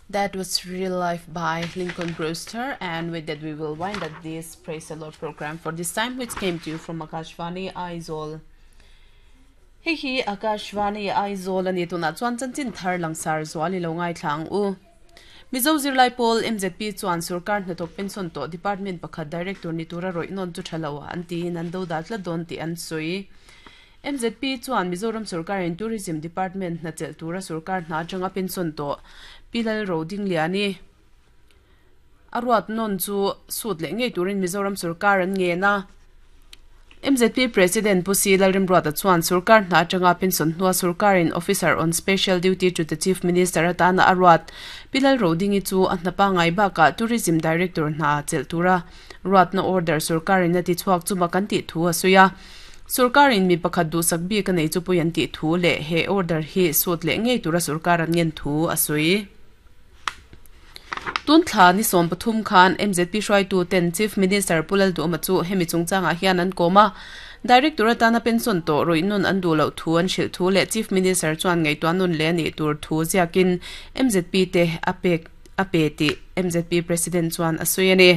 That was Real Life by Lincoln Brewster and with that we will wind up this Praise the Lord program for this time which came to you from Akashvani Aizawl. Hei hi Akashvani Aizawl ani tunah chuan chanchin thar langsar zual i lo ngaithla ang u. Mizo zirlai pawl MZP chuan sorkar hnathawk pension tawh department pakhat director ni tura rawih nawn chu tha lo an tiin an do dal tlat dawn tih an sawi. MZP chuan Mizoram sorkarin Tourism Department hna chelh tura sorkar hna atanga pension tawh Pi Lalrodingliani a ruat nawn chu sut leh ngei turin Mizoram sorkar an ngen a. MZP President Pu Si Lalrimruata chuan sorkar hna atanga pension hnua sorkarin Officer on Special Duty to the Chief Minister atana a ruat Pi Lalrodingi chu a hna pangngai bakah Tourism Director hna chelh tura ruatna order sorkarin a tichhuak chuma kan tih thu a sawi a. Sorkarin mi pakhat duhsak bik a nei chu pui an tih thu leh he order hi sut leh ngei tura sorkar an ngen thu a sawi. Tun thla ni 13 khan MZP hruaitu ten Chief Minister Pu Lalduhawma chu hemi chungchangah hian an kawm a. Director atana pension tawh rawih nun an duh loh thu an hrilh thu leh Chief Minister chuan ngaihtuah nun leh a nih tur thu ziakin MZP te a pek a pe tih MZP President chuan a sawi a ni.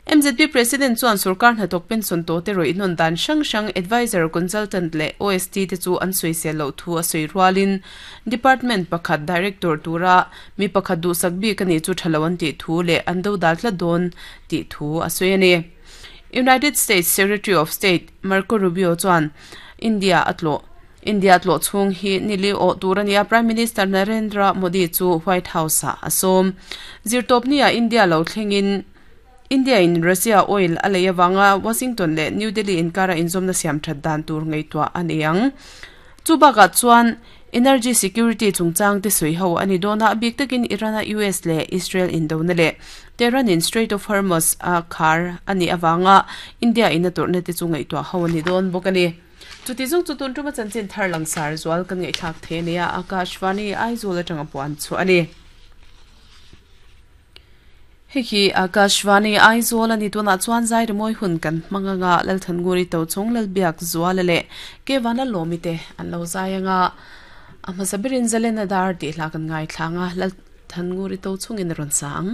MZP President chuan sorkar hnathawk pension tawhte rawih hnawn dan hrang hrang Adviser, Consultant leh OST te chu an sawisel loh thu a sawi rualin Department pakhat Director tura mi pakhat duhsak bik a nih chu tha lo an tih thu leh an dodal tlat dawn tih thu a sawi a ni. United States Secretary of State Marco Rubio chuan India a tlawh. India tlawh chhung hi nili awh tur a ni a, Prime Minister Narendra Modi chu White House-ah a sawm. Zirtawpni-ah India lo thlengin India in Russia oil a lei avanga Washington leh New Delhi inkara inzawmna siam that dan tur ngaihtuah a ni ang. Chu bakah chuan energy security chungchang te sawi ho a ni dawn a, a bik takin Iran-a US leh Israel indona leh Tehran in Strait of Hormuz a khar a nih avanga India in a tawrhna te chu ngaihtuah ho a ni dawn bawk a ni. Chuti zawng chu tun tuma chanchin thar langsar zual kan ngaihthlak thei a nia, Akashvani Aizawl atanga puan chhuah a ni. Hei hi Akashvani Aizawl a ni tunah chuan zai rimawi hun kan hmang anga Lalthannguri Tochhawng Lalbiak Zuala leh Kevan Lalawmi te an lo zai anga a hmasa berin Zalena Dar tih hla kan ngaithla anga Lalthannguri Tochhawngin a rawn sa ang.